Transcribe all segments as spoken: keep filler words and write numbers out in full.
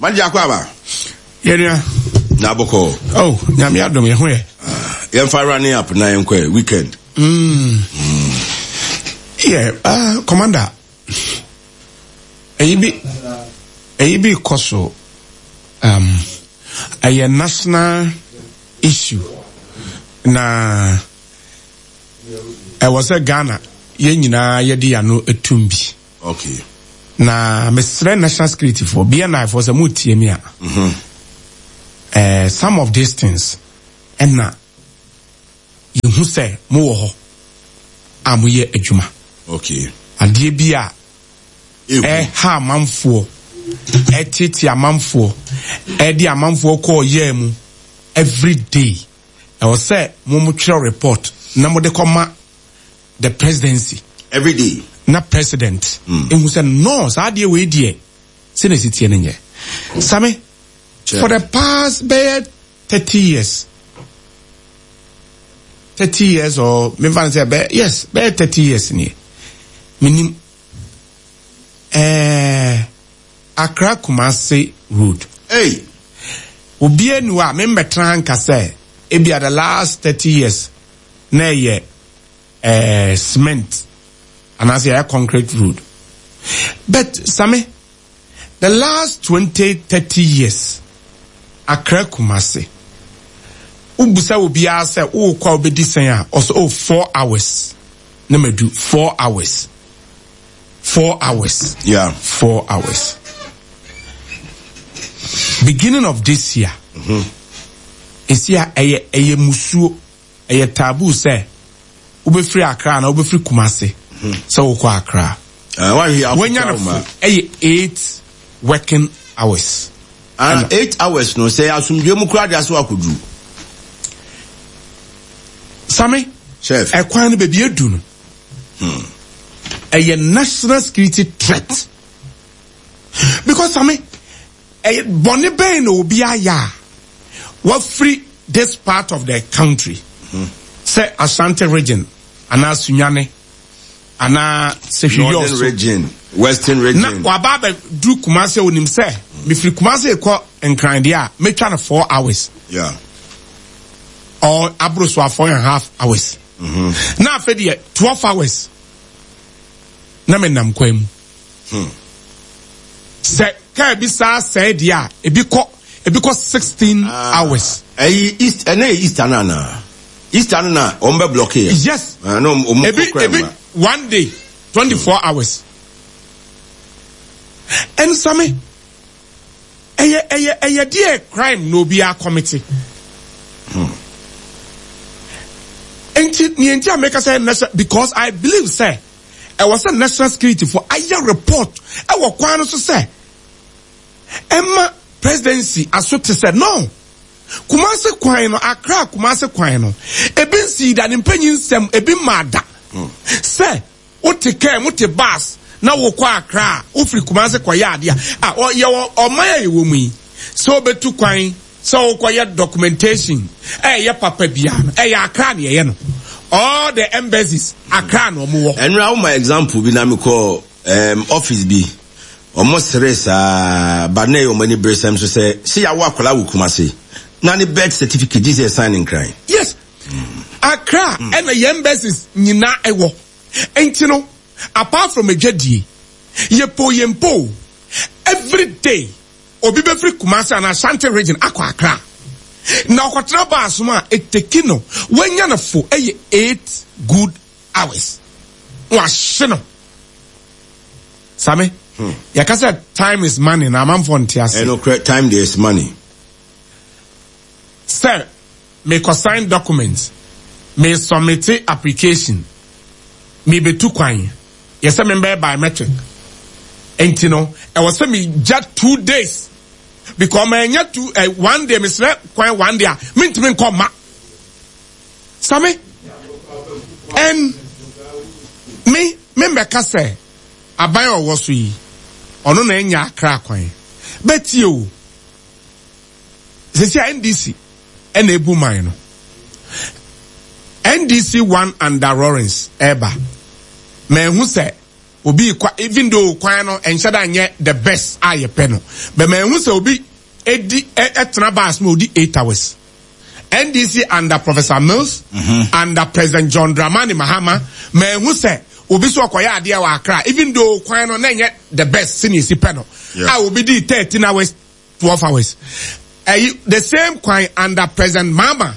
Manager akɔ aba. Yɛnua. Na abɔkɔ. Oh, Nyame adom yɛ ho yɛ. Yɛmfa running up na yɛnkɔ weekend. Mm. Mm. Yeah, uh, commander. Ɛyi bi ɛyi bi kɔ so um ɛyɛ national issue na ɛwɔ sɛ Ghana yɛn nyinaa yɛde yɛn ano etum bi. Okay. Na mesrɛ national security for B N I for sɛ mo tie mi a. Mm-hmm. Uh, some of these things ɛna yɛhu sɛ mowɔ hɔ a moyɛ adwuma. Okay. Adeɛ bi a ɛha amanfoɔ, ɛtete amanfoɔ, ɛde amanfoɔ kɔɔ yɛɛ mu every day. Ɛwɔ sɛ mo mo twerɛ report na mo de kɔma the presidency. Every day. Na president. Ehu sɛ no saa adeɛ wei deɛ sɛ na esi tie no nyɛ. Sami, for the past bɛyɛ thirty years, thirty years or mefa no sɛ bɛyɛ, yes, bɛyɛ thirty years nie. Menim ɛɛ Accra Kumasi road. Hey. Obiara ni hɔ a membɛtena nka sɛ ebia the last thirty years na ɛyɛ ɛɛ cement anaasɛ ɛyɛ concrete road. But Sami, the last twenty thirty years, Accra Kumasi, wobusa obiara sɛ wokɔ a wobɛdi sɛn a, ɔsɛ oh, four hours na madu, four hours, four hours. Yeah. Four hours. Beginning of this year, esi a ɛyɛ ɛyɛ musuo, ɛyɛ taboo sɛ wobɛfiri Accra na wobɛfiri Kumasi sɛ wokɔ Accra. Uh, Wanya no fo ɛyɛ eight working hours. Uh, eight hours no sɛ asomdwe mu kura de aso akoduru. Sami, Chef. Ɛkwan no baabi edu no, ɛyɛ national security threat. Because Sami, ɛyɛ bɔnne bɛn na obi ayɛ a wafiri this part of the country, sɛ Ashanti Region anaa Sunyani anaa Sefwi Northern Region, Western Region. Na waba abɛduru Kumasi a onim sɛ mefiri Kumasi kɔ Nkran deɛ a, metwa no four hours. Yeah. Or aboro so a four and a half hours. Mm-hmm. Na afei deɛ twelve hours na menam kwan mu. Hmm. Sɛ kaa bi saa sɛɛ deɛ a, ebi kɔ ebi kɔ sixteen Ah. hours. Ɛyi East, ɛnɛ yɛ Easter na na. Easter no na wɔn bɛ block yɛ. Yes. Ah, no, wɔn Ebi kɔ kura ebi mu. one day twenty four hours. Ɛnsame ɛyɛ ɛyɛ ɛyɛ deɛ crime na obi akɔmete. Nti nea nti a meka sɛ national, because I believe sɛ ɛwɔ sɛ national security fo ayɛ report ɛwɔ kwan no so sɛ ɛma presidency aso te sɛ no Kumasi kwan no, Accra Kumasi kwan no, ebi nsi da ne mpanyin nsɛm ebi mmaa da sɛ wote kaa mu, te bus na wokɔ Accra a, wofiri Kumasi kɔyɛ adeɛ a yɛwɔ ɔman a yɛwɔ mu yi sɛ wobɛtu kwan sɛ wokɔyɛ documentation, ɛyɛ papa biara no, ɛyɛ Accra na yɛyɛ no. All the embassies, Accra na ɔmo wɔ. Ɛnura wo ma example bi na mi kɔ um, office bi, ɔmo sere saa ba na ɛyɛ ɔmo ani bere sɛm so sɛ si yawo akwadaa wɔ Kumasi na ne birth certificate gye sɛ sign Nkran. Yes, Accra ɛna yɛn embassies nyinaa ɛwɔ. Nti no, apart from adwadie, yɛpo yɛmpo, every day obi bɛfiri Kumasi anaa Ashanti Region akɔ Accra na ɔkɔtena bus mu a, eteki no wanya no fo ɛyɛ eight good hours na wahye no. Sami, yɛka sɛ time is money na amanfoɔ nte ase. Ɛno time there is money. Sɛ mekɔ sign document, me submit application, mebetu kwan, yɛsɛ membɛyɛ biometric, nti no ɛwɔ sɛ megya two days because manya two eh, one day mesrɛ kwan one day a mentumi nkɔ ma. Sami, and me me mbɛka sɛ aban a ɔwɔ so yi, ɔno na ɛnya Akra kwan bɛtie o. Sisi a N D C ɛna ebu man no, N D C one under Lawrence ɛɛba, mɛ ehu sɛ Obi kwa, even though kwan no ɛnhyɛ da nyɛ the best a yɛpɛ no, but mɛhu sɛ obi edi ɛtena bus mu odi eight hours. N D C under Professor Mills, mm-hmm. under President John Dramani Mahama, mɛhu sɛ obi so ɔkɔyɛ adeɛ wɔ Accra, even though kwan no na nyɛ the best sɛnea esi pɛ no, a obi di thirteen hours, twelve hours. Ɛyi the same kwan under President Mahama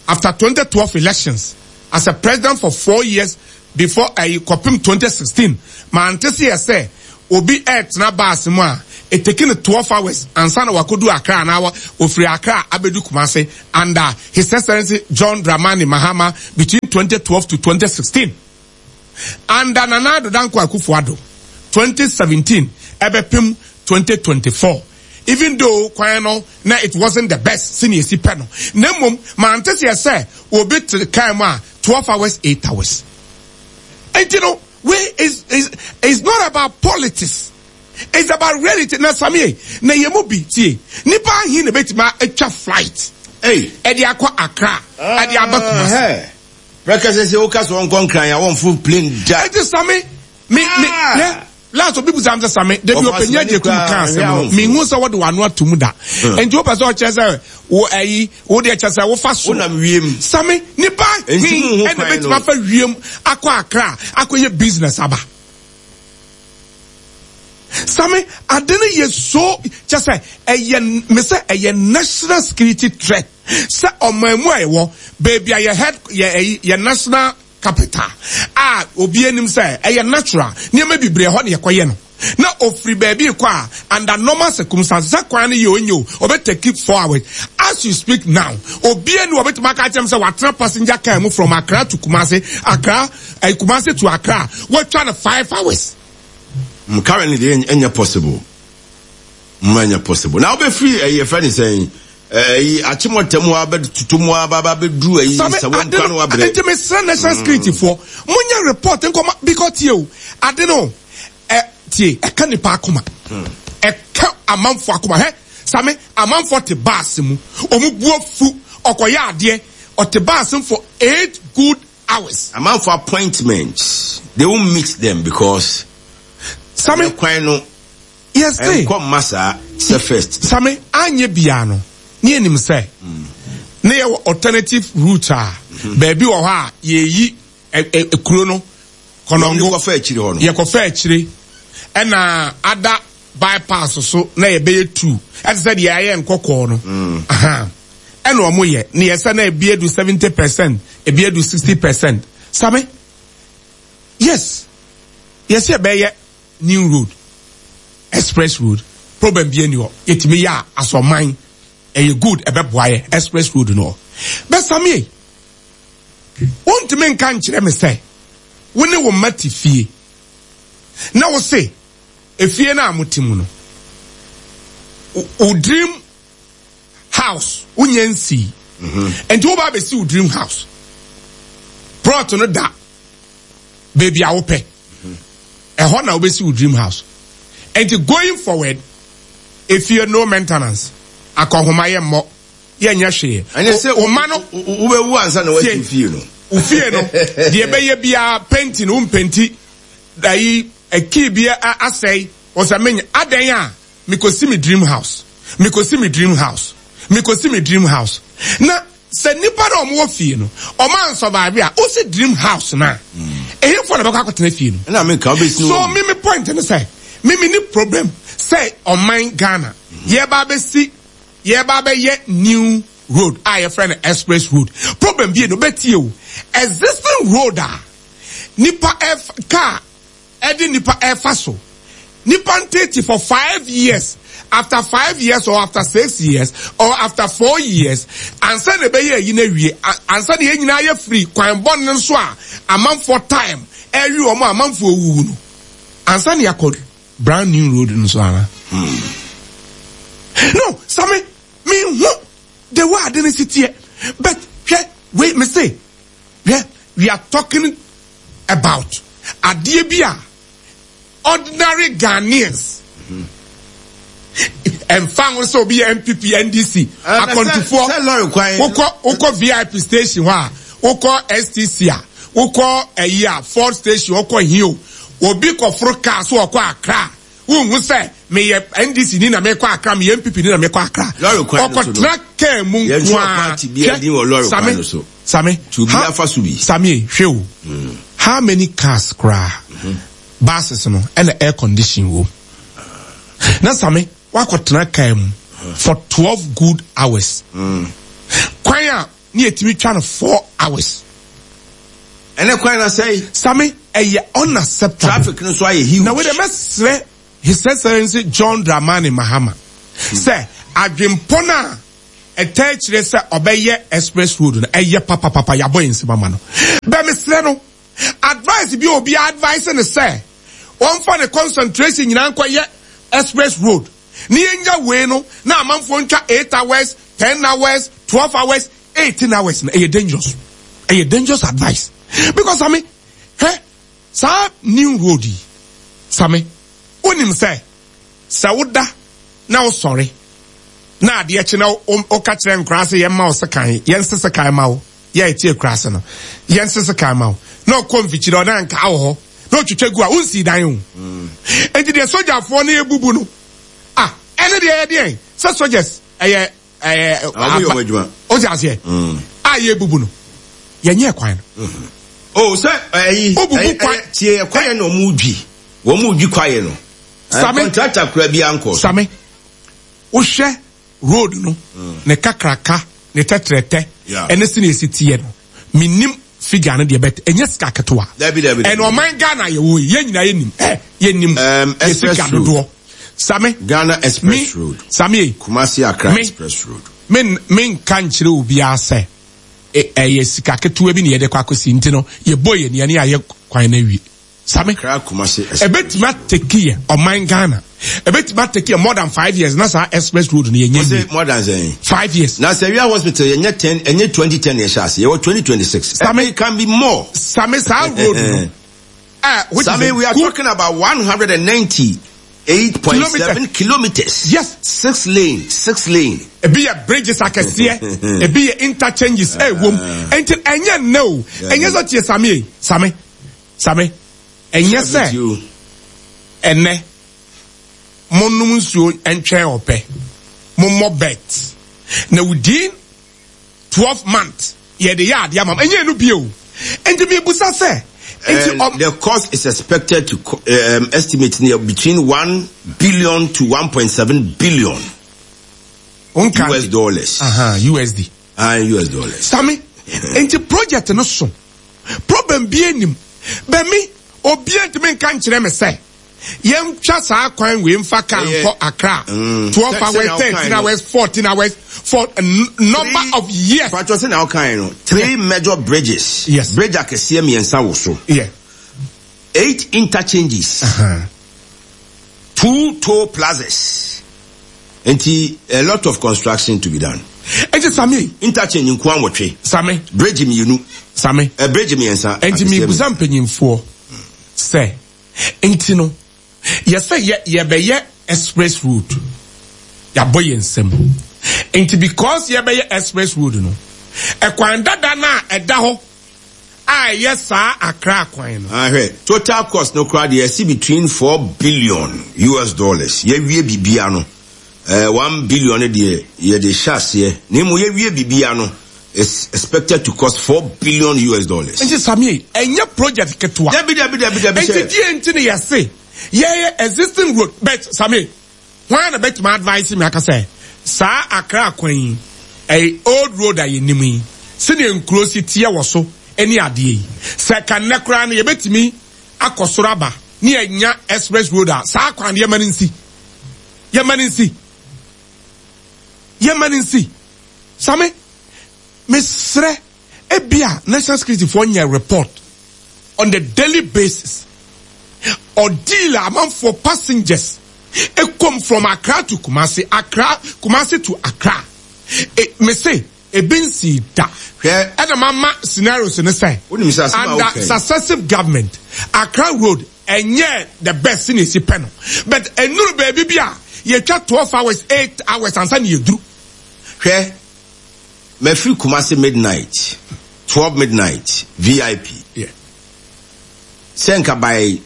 after twenty twelve elections as a president for four years before ɛyi kɔpem twenty sixteen, mante se yɛ sɛ obi ɛɛtena bus mu a eteki no twelve hours ansa na wakodu Accra anaa ofiri Accra abedu Kumasi under His Excellency John Dramani Mahama between twenty twelve to twenty sixteen. Under Nana Addo Dankwa Akufo-Addo, twenty seventeen ɛbɛpem twenty twenty-four, even though kwan no na it wasn't the best sɛnea esi pɛ no, na mmom mante seɛ sɛ obi te kaa mu a twelve hours, eight hours. Nti no, wei is is is not about politics, it's about reality. Na Samie, na yɛ mu bi tie, nipa ahin na betumi atwa flight ɛde akɔ Accra, ɛde aba Kumasi? Pɛkɛsɛ sɛ woka sɛ wɔnkɔ Nkran a, wɔmfo plane da. Ɛnti Sami, mi mi ne last obi busa mi sɛ, "Sami, debi ɔpanyin agye kum ka asɛm no, mi hu sɛ wɔde w'ano ato mu da, nti wopɛ sɛ ɔkyerɛ sɛ wo ɛyi wo deɛ kyerɛ sɛ wofa so wonam wiem?" Sami, nipa hin ɛna betumi afa wiem akɔ Accra akɔyɛ business aba? Sami, ade no yɛ so kyɛ sɛ ɛyɛ me sɛ ɛyɛ national security threat sɛ ɔman mu a ɛwɔ beebi a yɛ head yɛ ɛyi yɛ national capital a obi anim sɛ ɛyɛ natural nneɛma bebree ɛhɔ na yɛkɔyɛ no, na ofiri baabi kɔ a, under normal circumstances, sɛ kwan no yɛ onye o, ɔbɛ take four hours. As you speak now, obi ani wɔbɛtumi aka kyerɛ m sɛ watena passenger car mu from Accra to Kumasi, Accra ɛɛ Kumasi to Accra, wɔatwa no five hours. Mm, currently deɛ, ɛnyɛ possible mm ɛnyɛ possible. Na wobɛfiri ɛyɛ fɛ ne sɛn, ɛyi Akyemɔtɛm hɔ abɛtutu mu aba abɛduru ɛyi sɛ wɔn no wabrɛ. Nti mesrɛ national security foɔ, monyɛ report nkɔma, because tie o, ade no ɛ tie, ɛka nipa akoma, ɛka amanfo akoma. Hɛ Sami, amanfo te baasi mu, ɔmo bu afu, ɔkɔyɛ adeɛ, ɔte baasi mu for eight good hours. Amanfo appointments, they won't meet them because Sami, kwan no yes ɛnkɔ mma saa sɛ first. Sami, anye bia no ne yɛnim sɛ ne yɛwɔ alternative route a baabi wɔ hɔ a yɛyi ɛ ɛ kuro no Kɔnɔngo. Kɔfa akyire hɔ no. Yɛkɔfa akyire, ɛna ada bypass so na yɛbɛyɛ two, ɛte sɛ deɛ ayɛ nkɔkɔɔ no. Ɛna ɔmo yɛ ne yɛsɛ na ebi edu seventy percent, ebi edu sixty percent. Sami, yes, yɛsɛ yɛbɛyɛ new road, express road, problem bi ani hɔ, yɛtumi yɛ a asɔman ɛyɛ good, ɛbɛboa yɛ express road no. Bɛ Sami, wontumi nka nkyerɛ me sɛ wo ne wo mma te fie na wo se efie no a mote mu no, wo dream house wonyɛ nsii, nti wo ba abɛsi wo dream house plot no da baabi a wopɛ, ɛhɔ na wobɛsi wo dream house. Nti going forward, efie no maintenance, akɔhoma yɛ mmɔ, yɛnyɛ hwee. Ɛnyɛ sɛ wo ma no wobɛwu ansa na wasi fie no. Wo fie no deɛ ɛbɛyɛ biara, painting wo mpenti ayi kii bi asɛe, wɔsɛ menya adan a mikosi mi dream house, mikosi mi dream house, mikosi mi dream house. Na sɛ nipa na ɔmo wɔ fie no, ɔmo ansɔbaare a wosi dream house na ehefo na bɛkɔ akɔtena fie no? Ɛna mi ka wobɛsi. So mi mi point ne sɛ mi mi ni problem sɛ ɔman Ghana yɛba abɛsi, yɛba abɛyɛ new road a yɛfrɛ no express road, problem bi no bɛtie o, existing road a nipa ɛf car ɛde nipa ɛfa so, nipa ntete for five years, after five years or after six years or after four years ansa na ɛbɛyɛ ɛyi na wie, ansa na yɛn nyinaa yɛ free kwan bɔ ne nso a amanfoɔ time ɛwi wɔn a amanfoɔ wuwu no ansa na yɛakɔ brand new road nso ana no. Sami, mi hu the way ade ne si teɛ, but hwɛ wei, me se hwɛ, we are talking about adeɛ bi a ordinary Ghanaians ɛnfa ho sɛ obi yɛ N P P, N D C, akɔntufoɔ, wokɔ wokɔ V I P station hɔ a, wokɔ S T C a, wokɔ ɛyi a, Ford station, wokɔ hio, Obi kɔforo kaa so ɔkɔ Accra, wohu sɛ meyɛ N D C ni na mekɔ Accra, meyɛ N P P ni na mekɔ Accra. Lɔre kwan no so no, ɔkɔtena kaa mu yɛntwerɛ nko a party biara din wɔ lɔre kwan no so. Same. Nti obi Ha- afa so bi. Same, hwɛ o, how many cars koraa, buses no ɛna air condition wɔ mu? Na Same, wakɔtena kaa mu for twelve good hours, kwan a ne yɛtumi twa no four hours. Ɛnɛ kwan na sɛe. Same, ɛyɛ unacceptable. Traffic no so ayɛ huge. Na wei de, mɛsrɛ His Excellency John Dramani Mahama sɛ adwempɔ no a ɛtɛ kyerɛ sɛ ɔbɛyɛ express road no, ɛyɛ papapapa, yɛabɔ yɛn nsɛm ama no. Bɛ mesrɛ no, advice bi a obi advice ne sɛ wɔmfa ne concentration nyinaa nkɔyɛ express road ne yɛnya wei no na amanfoɔ ntwa eight hours, ten hours, twelve hours, eighteen hours no, ɛyɛ dangerous, ɛyɛ dangerous advice, because Same, hwɛ saa new road yi, Same, wonim sɛ sɛ woda na wosɔre na adeɛ kye na wo- woka kyerɛ nkoraa sɛ yɛmma wo sekan, yɛnse sekan ma wo, yɛ ɛte akura ase no, yɛnse sekan ma wo, na ɔkɔ mfikyire ɔna nka wɔ hɔ na ɔtwitwa gu a, wonsii dan o. Enti deɛ sogyafoɔ no ebubu no ah, ɛne deɛ yɛ deɛn sɛ soldiers ɛyɛ ɛyɛ Ɔmo yɛ ɔmo adwuma. O ti aseɛ a yɛbubu no, yɛnyɛ kwan no. O sɛ ɛyi Obubu ɛyi- kwan. ɛyɛ- tie, kwaeɛ na ɔmo dwi, wɔn dwi kwaeɛ no. Same. Contractor kura bi ankɔ so. Same, wohwɛ road no ne kakraka ne tɛtrɛtɛ Yeah. ɛne sɛ ne esi teɛ no, menim figure no deɛ, bɛt ɛnyɛ sika ketewa. Dabi, dabi, dabi. Ɛna ɔman Ghana yɛwɔ yi, yɛn nyinaa yɛnim ɛ yɛnim Um, yɛ express sika road. dodoɔ, Same. Ghana Me Express Road. Same yi, Kumasi Accra Me- Express Road. Me me nka nkyerɛ obiara sɛ ɛ- ɛyɛ sika ketewa bi na yɛde kɔ akɔsi, nti no yɛbɔ yɛ nea ne ayɛ kwan no awie, Same. Accra Kumasi Express. Ɛbɛtumi atake yɛ, ɔman Ghana, ɛbɛtumi atake yɛ more than five years na saa express road no yɛnyɛ Wɔsɛ wie. more than sɛn? Five years. Na sɛ wia hospital yɛnyɛ ten, ɛnyɛ twenty ten yɛhyɛ ase, yɛwɔ twenty twenty six. Same. It can be more. Same, saa road no eh, which is Same, a we are good talking about one hundred and ninety eight point seven kilometers. Yes. Six lane, six lane. Ebi yɛ bridges akɛseɛ, ebi yɛ interchanges ɛwom, nti ɛnyɛ nnɛ o, ɛnyɛ sɛ, tie, Same yi, Same, Same, ɛnyɛ sɛ ɛnɛ monom nsuo ntwɛn ɔpɛ, mommɔ bet na within twelve months yɛde yɛ adeɛ ama mo, ɛnyɛ no bio. Nti mibusa sɛ nti And ɔm the cost is expected to co- um, estimate near between one billion to one point seven billion nka U S dollars. Aha, U S D. Ah, U S dollars. Same, nti project no so problem bi anim bɛmi, obiara ntumi nka nkyerɛ me sɛ yɛntwa saa kwan wei mfa kaa Ɛyɛ- nkɔ Accra Mm. twelve Sɛ- hours, sɛnea wokae thirteen no. hours, fourteen hours, for a n- number Three- of years. Patro, sɛ na ɔkan no, three major bridges. Yes. Bridge akɛseɛ mmiɛnsa wɔ so. Yeah. Eight interchanges. Uh-huh. Two toll plazas. Nti a lot of construction to be done. Nti Same, Interchange nko awɔtwe. Same, Bridge mmienu. Same. A bridge mmiɛnsa. Nti akɛseɛ. mibusa mpanyinfoɔ sɛ nti no yɛsɛ yɛ yɛbɛyɛ express road, yɛabɔ yɛn nsam, nti because yɛbɛyɛ express road no, ɛkwan dada no a ɛda hɔ a ɛyɛ saa Accra kwan no. Ahwɛ, total cost no koraa deɛ, ɛsi between four billion U S dollars. Yɛwie bibia no, eh, one billion no deɛ yɛde hyɛ aseɛ. Na emu yɛwie bibia no is expected to cost four billion U S dollars. Nti Same, ɛnyɛ project ketewa. Dabi, dabi, dabi, dabi. Nti Sɛ die nti ne yɛse yɛyɛ existing road, but Same, hwan na bɛtumi advice mi aka sɛ saa Accra kwan yi, ɛyɛ old road a yɛnim yi, sɛdeɛ nkuro si teɛ wɔ so ne adeɛ yi, sɛ kanɛ koraa no yɛbɛtumi akɔ soro aba ne yɛnya express road a, saa kwan no yɛma no nsi, yɛma no nsi, yɛma no nsi. Same, mesrɛ, ebia national security foɔ nyɛ report on the daily basis or deal amanfoɔ passengers ekom from Accra to Kumasi, Accra, Kumasi to Accra. E, mese ebi nsi da. Hwɛ. Ɛna mama scenarios ne sɛ Wonim sɛ asɛm a under woka yi. successive government, Accra road ɛnyɛ the best ne esi pɛ no, but enuru baabi bi a yɛtwa twelve hours, eight hours ansa ne yɛduru. Hwɛ, mafiri Kumasi midnight, twelve midnight, V I P. Yeah. Sɛ nka by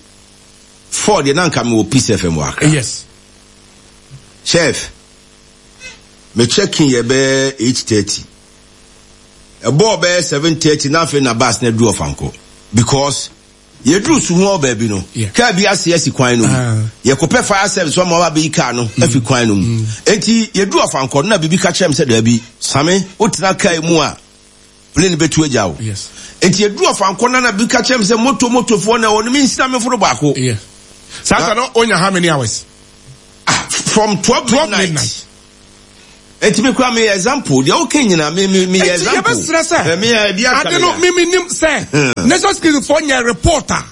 Four deɛ na nka mewɔ Peace F M wɔ Accra. Yes. Chef, me check in yɛ bɛyɛ eight thirty. Ɛbɔɔ bɛyɛ seven thirty na afei na bus na du Ɔfankɔ. Because yɛduru so ho baabi no, kaa bi ase asi kwan no mu. Yɛkɔpɛ fire service ɔma ɔba bɛyi kaa no afi kwan no mu. Enti yɛduru Ɔfankɔ no na biribi ka kyerɛ me sɛ daabi, Same, wotena kaa mu a plane bɛtu agya wo. Yes. Enti yɛduru Ɔfankɔ no na biribi ka kyerɛ me sɛ moto motofoɔ na ɛwɔ no mensina meforo baako. Yeah. Saa sa no onya how many hours? Ah, from twelve midnight. midnight. Enti me kura me example. Deɛ woka nyina me me me example. Enti yɛbɛsrɛ sɛ me yɛ bi aka ade no me me nim sɛ National Security foɔ nyɛ reporter.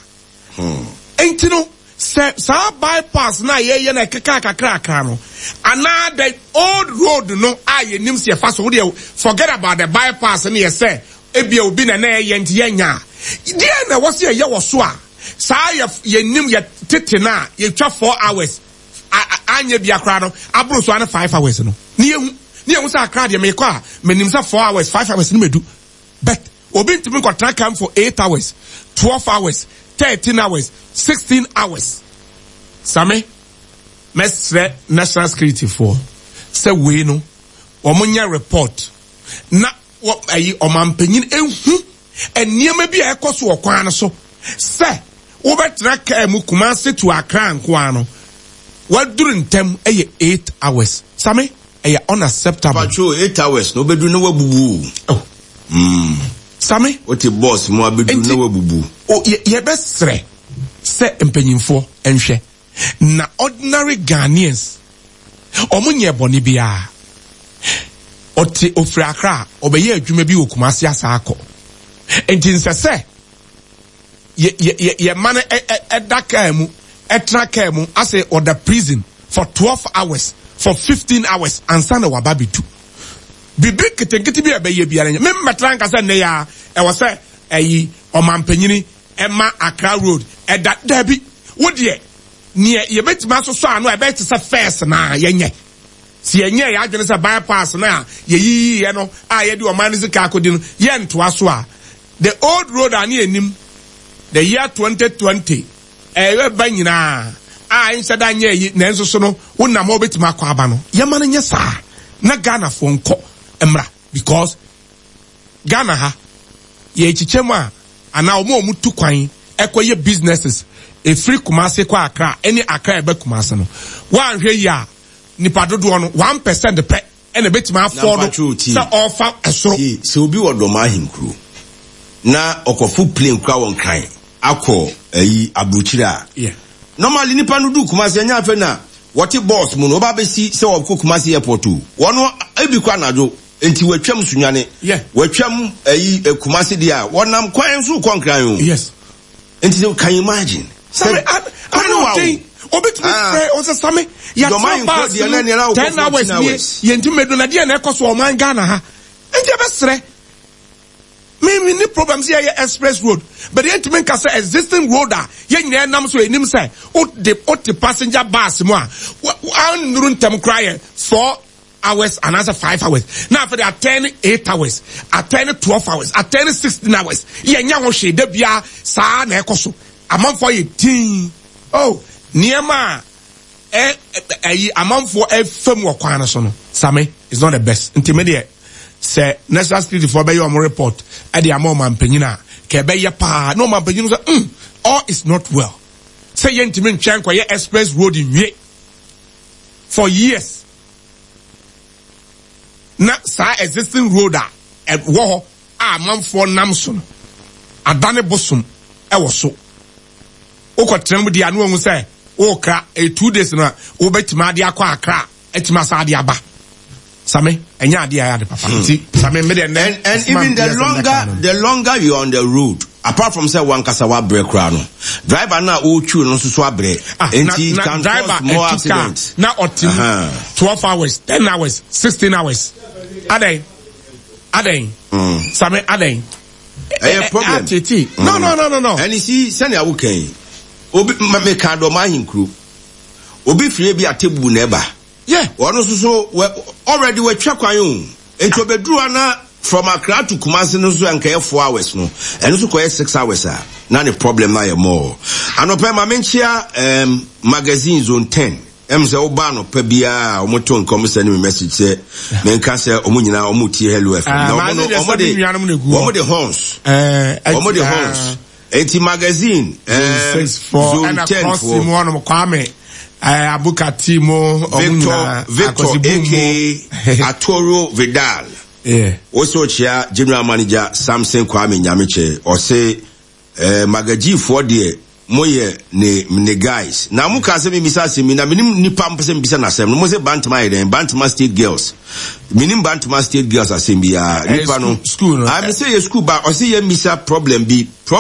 Enti no sɛ saa bypass na yɛyɛ na ɛkeka kakrakra no anaa the old road no a yɛnim sɛ yɛfa so wodeɛ forget about the bypass no yɛ sɛ ebia obi na na ɛyɛ nti yɛnya deɛ na ɛwɔ sɛ yɛyɛ wɔ so a saa yɛ yɛnim yɛ tete no a yɛtwa four hours anya bia kra no abro so ane five hours no ne yehu ne yehu sɛ akra deɛ mekɔ a menim sɛ four hours five hours no medu but obi ntumi nkɔtena kam for eight hours twelve hours thirteen hours sixteen hours. Same mɛsrɛ national security for sɛ wei no wɔn nyɛ report na wɔ ayi ɔmanpanyin ehu nneɛma bi a ɛkɔ so wɔ kwan no so sɛ wobɛtena kaa mu Kumasi to Accra nkoa no waduru ntɛm ɛyɛ eight hours. Same ɛyɛ unacceptable. Patrol eight hours no obedu no wabubu. Oh. Mm. Same wote boss mu abedu no wabubu. O ye yɛbɛsrɛ sɛ mpanyimfoɔ nhwɛ na ordinary Ghanaians ɔmo nyɛ bɔne biara. Ɔte ofiri Accra ɔbɛyɛ adwuma bi wɔ Kumasi asa akɔ. Enti nsɛ sɛ ye ye ye man ɛda kaa mu ɛtena kaa mu ase ɔda prison for twelve hours for fifteen hours ansa na waba betu. Bibi ketenkete bi a ɛbɛyɛ biara nyɛ. Me mmɛtena nka sɛ nnɛ ya ɛwɔ sɛ ɛyi ɔmampanyini ɛma Accra road ɛda dabi wo deɛ neɛ yɛbɛtumi asosɔ ano a ɛbɛyɛ te sɛ first na yɛnyɛ. Si yɛnyɛ yɛ adwene sɛ bypass na yɛyiyi no a yɛde ɔman no sika akɔdi no yɛntoa so a the old road a ne yɛnim the year twenty twenty ɛyɛ ba nyinaa a nhyɛ da nyɛ yi nanso so no wonam hɔ wobɛtumi akɔ aba no yɛma no nyɛ saa na Ghanafoɔ nkɔ mmra because Ghana ha yɛkyekyɛ mu a anaa ɔmo a ɔmo tu kwan ɛkɔyɛ businesses ɛfiri Kumasi kɔ Accra ɛne Accra ɛbɛ Kumasi no woanhwɛ yi a nipa dodoɔ no one percent pɛ ɛna ɛbɛtumi afɔɔ no sɛ ɔfa ɛsoro. Sɛ obi wɔ dɔm ahenkuro na ɔkɔfo plane kura wɔn kran akɔ ayi aburukyire a normally nipa no du Kumasi ɛnyɛ afɛ na wɔte bus mu no ɔba bɛsi sɛ ɔkɔ Kumasi airport o wɔn ebi kɔ anadwo nti wɔatwam Sunyane wɔatwam ayi Kumasi deɛ a wɔnam kwan so kɔ Nkran o. Yes. Nti can you imagine? Same I I don't think obi tumi frɛ ɔsɛ Same yɛtena bus mu ten hours nie yɛntumi medu na deɛ na ɛkɔ so ɔman Ghana ha nti ɛbɛsrɛ me me ni problem sɛ yɛyɛ express road but yɛntumi nka sɛ existing road a yɛn nyinaa nam so yɛnim sɛ o de o te passenger bus mu a annuru ntɛm koraa yɛ four hours and answer five hours now for the attend eight hours attend twelve hours attend sixteen hours yɛnya ho hwee da bia saa na ɛkɔ so amanfoɔ yɛ tin oh nneɛma a ɛyi amanfoɔ ɛfam wɔ kwan no so no Same is not the best nti me deɛ sɛ national security foɔ bɛyɛ ɔmo report ɛde ama ɔmanpanyin a kɛ ɛbɛyɛ paa na ɔmanpanyin sɛ mm all is not well sɛ yɛntumi ntwɛn nkɔyɛ express road nwie for years na saa existing road a ɛwɔ hɔ a amanfoɔ nam so no adane bosom ɛwɔ so wokɔtena mu deɛ ano ahu sɛ wokra ɛyɛ two days no a wobɛtumi ade akɔ Accra atumi asa ade aba Same ɛnyɛ ade a ɛyɛ ade papa nti Same me deɛ and and even the longer the longer you are on the road apart from say one kasa wa brɛ kora no driver na ɔretwi no nso so abrɛ nti it can cause more accidents na ɔte twelve hours ten hours sixteen hours adɛn adɛn Same adɛn ɛyɛ problem atete no no no no no and you see sɛnea woka yi obi meka dɔm ahenkuro obi firi bi atebu na ɛba yeah ɔno nso so already wɔatwa kwan o nti obeduru ana from Accra to Kumasi no so anka yɛ four hours no ɛno nso kɔyɛ six hours a Na ne problem na yɛ more. Anɔpɛ ma menkyia um, Magazine Zone ten. Ɛm sɛ woba anɔpa biara a, wɔto nka, wɔn send me message sɛ menka sɛ wɔn nyinaa wɔn tie Hello F M. Ah, na wɔn no magazine wɔn de deɛ sɛ me nuanom na egu hɔ. Wɔn de horns. Eh, wɔn de ɛti, horns. Eti Magazine Zone um, six four Zone ɛna ten cross four. mu hɔnom, Kwame eh, Abukati mu, ɔmo Victor nyinaa Victor Akwasi Boom mu. A K A Atoro Vidal. Yeah. Wosɛ ɔkyea General Manager Samson Kwame Nyamekyɛ. Ɔse eh, magajifoɔ deɛ moyɛ ne ne guys. Na mo ka sɛ mebisa asɛm yi na menim nipa mpɛ sɛ mebisa n'asɛm no. Mo sɛ Bantama yɛ dɛn? Bantama State Girls. Menim Bantama State Girls asɛm biara. Eh, Nipa no. School, school no. Ah, me sɛ yɛ school ba, ɔse yɛ mmisa problem bi.